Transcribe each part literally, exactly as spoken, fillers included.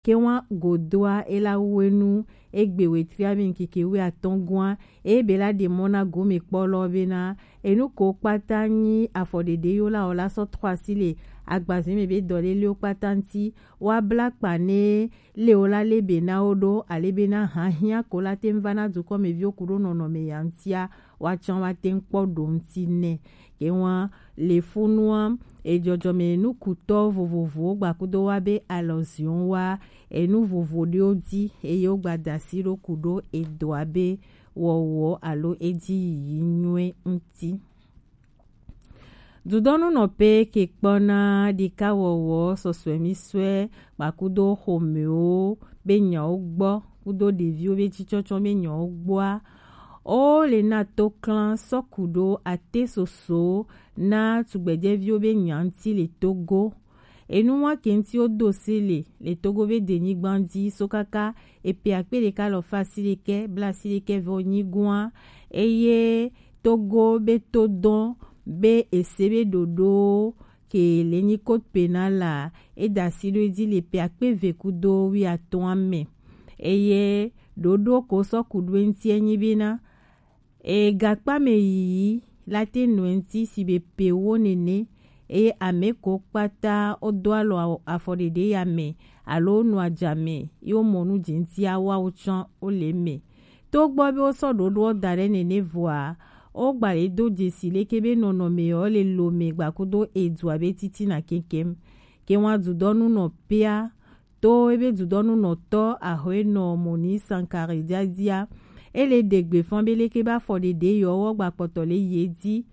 Ke wan godoa e la wu enu egbe wetri ami keke wi atɔn gwan, e be la de mɔ na gome kpɔ lɔ be na enu ko kpata nyi afɔɖeɖe yo la o la sɔ trɔ asi le agbaze mɛ be dɔlelewo kpata ŋti, wa bla kpa ne le o la le be na wo ɖo ale be na hahia ko la te ŋva na dukɔ mɛ viwo ku ɖo nɔnɔme ya ŋtia, wa can wa te ŋkpɔ ɖo ŋti nɛ. Ke wan le funua ejɔjɔme nukutɔ vovovowo gbakudo wa be alɔzion wa enu vovo ɖewo di eye wo gba da asi ɖo ku ɖo edoa be wɔwɔ alo eji yiyi nyuie ŋti. Dudɔnu nɔ pe ke kpɔna ɖika wɔwɔ sɔsɔe mi sɔe gbakudo xomɛwo be nyawo gbɔ kudo ɖeviwo be jicɔcɔ be nyawo gbɔa, o le na to klan sɔ ku ɖo ate soso na tugbɛjɛviwo be nya ŋti le Togo. Enu wa ke ŋti wo do se le le Togo be denyigba di so kaka epe akpe ɖeka lɔ fa asi ɖekɛ bla asi ɖekɛ vɔ nyi gwan, eye Togo be to dɔn be ese be ɖoɖo ke le nyi code pénal la e da asi ɖo edzi le pe akpe ve kudo wi atɔn mɛ. Eye ɖoɖo ko sɔ ku ɖo eŋti enyi be na e gakpa mɛ yiyi la te nɔ eŋti si be pe wo nene, eye ame ko kpata wo do alɔ afɔɖeɖe ya mɛ alo wo nɔ ajame ye wo mɔ nu je ŋti awa wo tsɔ wo le mɛ. To gbɔ be wo sɔ ɖoɖoɔ da ɖe nene vɔa, wo gba le do jesi leke be nɔnɔme ɔ le lo mɛ gbakudo edu abe titina kekem. Ke wan dudɔnu nɔ pea to ebe dudɔnu nɔtɔ ahɔenɔ Moni Sankare jadia, e le ɖe gbe fɔn be leke be afɔɖeɖe yɔ wɔ gba kpɔtɔ le ye di.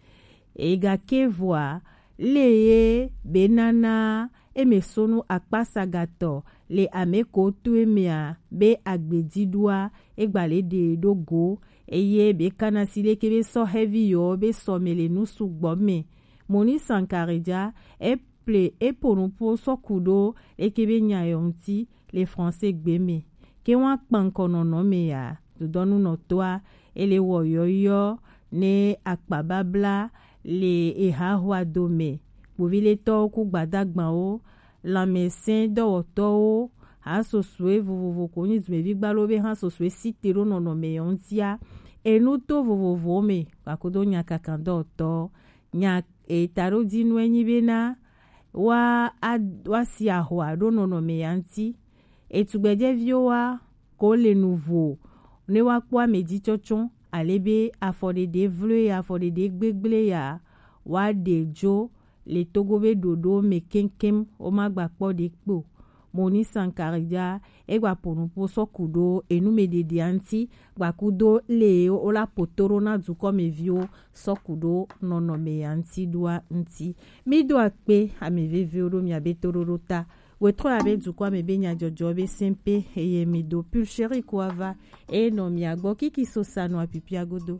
Egake vɔa, le ye be nana eme sonu akpasagatɔ le ame ko to emea be agbediɖoa, egba le ɖe ɖo go, eye be kana si leke be sɔ hevi yɔ be sɔ me le nu sugbɔ me. Moni Sankare ja, e ple e po nupo sɔ ku ɖo leke be nya yɔ ŋti le français gbe me. Ke wan kpankɔ nɔnɔ me ya, dudɔnu nɔtɔa, e le wɔ yɔyɔ ne akpababla le eha hwa do me. Kpoviletɔwo ku gbadagbawo, lanmɛsɛn dɔwɔtɔwo, ha sosoe vovovo ko nyi dumevi gbalo be ha sosoe site ɖo nɔnɔme yɔ ŋtia, enu to vovovowo me, gbakudo nyakakan dɔwɔtɔ, nya eta ɖo dinu enyi be na wa a wa si ahwa ɖo nɔnɔme ya ŋti. Etugbɛjɛviwo wa ko le nu vo ne wa kpɔ ame ji tsɔtsɔ ale be afɔɖeɖe vlo ya, afɔɖeɖe gbegble ya, wa ɖe jo le Togo be ɖoɖo me keŋkeŋ, wo ma gba kpɔ ɖe kpo. Moni Sankare ja, e gba po nupo sɔ ku ɖo enu me ɖeɖea ŋti, gbakudo le wo la poto ɖo na dukɔ me viwo sɔ ku ɖo nɔnɔme ya ŋti ɖoa ŋti. Mi do akpe ame veviwo ɖo mia be toɖoɖo ta. Wetrɔ ya be dukɔ ame be nyajɔjɔ be sɛnpe eye mi do Pulchérie ko ava e nɔ mia gbɔ kiki so sa nɔ apipia godo.